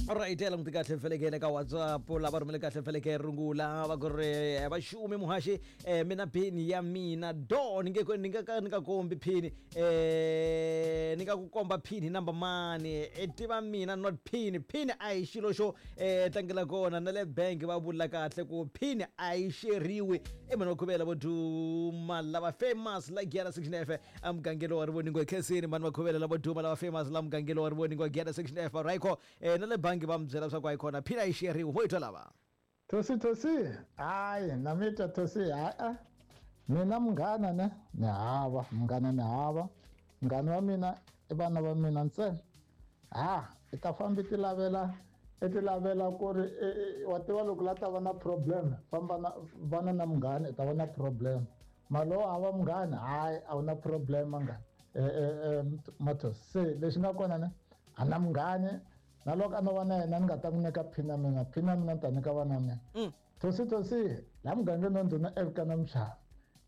Alright, ya languti kahle felekele ka WhatsApp lava rhumele kahle feleke rungula va ku ri vaxumi muhaxi mina pin ya mina do ni nge ni nga ka ni nga kombi pin ni nga ku komba pin hi number mani i tiva mina not pin pin a hi xilo xo tlangela kona na le bank va vula kahle ku pin a yi xeriwi i mhani va khuvela vo duma lava famous la Giyani section F emugangeni wa Rivoningo hi khensini mhani va khuvela lavo duma lava famous la mugangeni wa Rivoningo Giyani section F right na le bangi va mi byela swa ku a yi kona phina yi xeriwi mo yi twa lava. Thosi thosi hayi na mi twa thosi hayi a mina munghana ne ni hava munghana ni hava munghana wa mina i vana va mina ntsena ha i ta famba i ti lavela i ti lavela ku ri wa tiva loko la ta va na problem famba na vana na munghana i ta va na problem mara loko hava munghana hayi a wu na problem munghana Mathos se lexi nga kona ne a na munghani na loko a no va na yena ni nga ta n'wi nyika phini ya mina phini ya mina ni ta nyika vana mina thosi thosi laha mugangeni wa ndhuna Elkana Mchava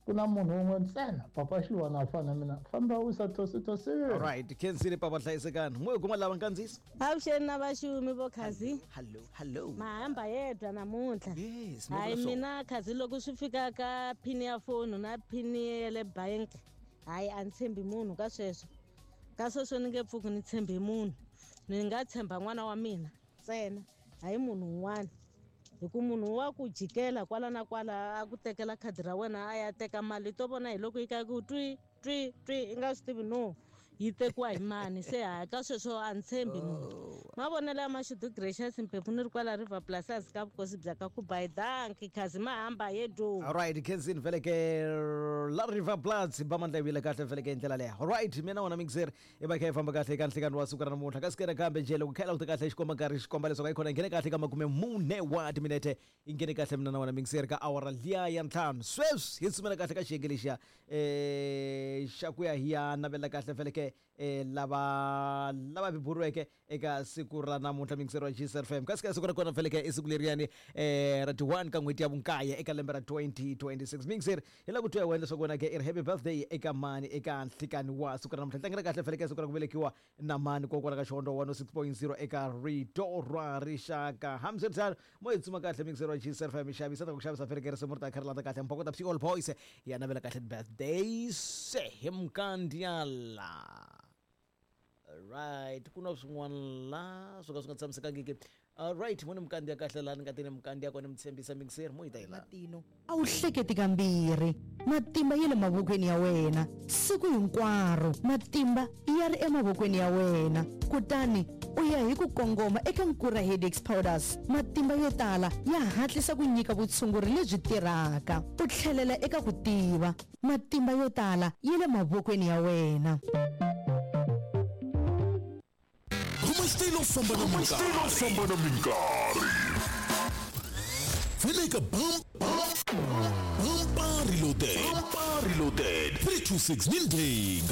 ku na munhu wun'we ntsena papa Xilwana a fana na mina famba wisa thosi thosi. Alright, khensile papa hlayisekani mo hi kuma lava nkandziyiso. Avuxeni na vaxumi vo Khazi. Hello, hello. Mahamba yedwa namuntlha. Yes, Hayi mina Khazi loko swi fika ka phini ya foni na phini ya le bank hayi a ni tshembi munhu ka sweswo. Ka sweswo ni nge pfuki ni tshembi munhu. Ni nga tshemba n'wana wa mina ntsena hayi munhu un'wana. Hi ku munhu wa ku jikela kwala na kwala a ku tekela khadi ra wena a ya teka mali to vona hi loko yi ka ku twi twi twi i nga swi tivi no yi tekiwa hi mani se hayi ka sweswo a ni tshembi munhu mavonelo ya Mashudu Gracious Mphephu ni ri kwala River Plus ka vukosi bya ka Kubayi danki khazi mahamba yedu. Alright khensini vhele ke la River Plus ba mandla yi kahle vhele ke ndlela leyo. Alright mina wona mixer i va kha yi famba kahle eka nhlikani wa siku ra namuntlha kasi kena kambe njhe loko kha yi languta kahle xikomba nkarhi xi komba leswaku a yi khona yi nghene kahle ka 40 wa timinete yi nghene kahle mina na wena mixer ka awara liya ya ntlhanu sweswi hi tsumela kahle ka xiyenge lexiya um xa ku ya hi ya navela kahle vhele ke um lava lava beburiweke eka siku ra namuntlha mixer wa GSFM kasi ka siku ra kona vhele ke i siku leriyani um ra ti-1 ka n'hweti ya vunkaye eka lembe ra 2026 mixer hi lava ku twa hi wena leswaku wena ke i ri happy birthday eka mani eka nhlikani wa siku ra namuntlha tlangela kahle vhele ke siku ra ku velekiwa na mani kokwala ka Xihondzo 106.0 eka Rito ra Rixaka. Hambiswiritano, mo hi tsuma kahle mixer wa G75 mi xavisa ta ku xavisa vhele risimu ri ta kha ri landza kahle Mbhokota Psi All Boys ya navela kahle birthday se hi Mkandyala. Right, ku na swin'wana la swo ka swi nga tshamisekangiki. Alright, mo ni Mkandiya kahle laha ni nga te ni Mkandiya kona mi tshembisa mixer mo yi ta yi la. Matino a wu hleketi kambirhi. Matimba ya le mavokweni ya wena siku hinkwaro. Matimba ya ri emavokweni ya wena. Kutani u ya hi ku kongoma eka Nkura Headaches Powders. Matimba yo tala ya hatlisa ku nyika vutshunguri lebyi tirhaka. U tlhelela eka ku tiva. Matimba yo tala ya le mavokweni ya wena. Khoma xitayili u famba na minkarhi. Famba na minkarhi. Pfuleka bam bam bumper reloaded. Bumper reloaded. 326 ni ndhinga.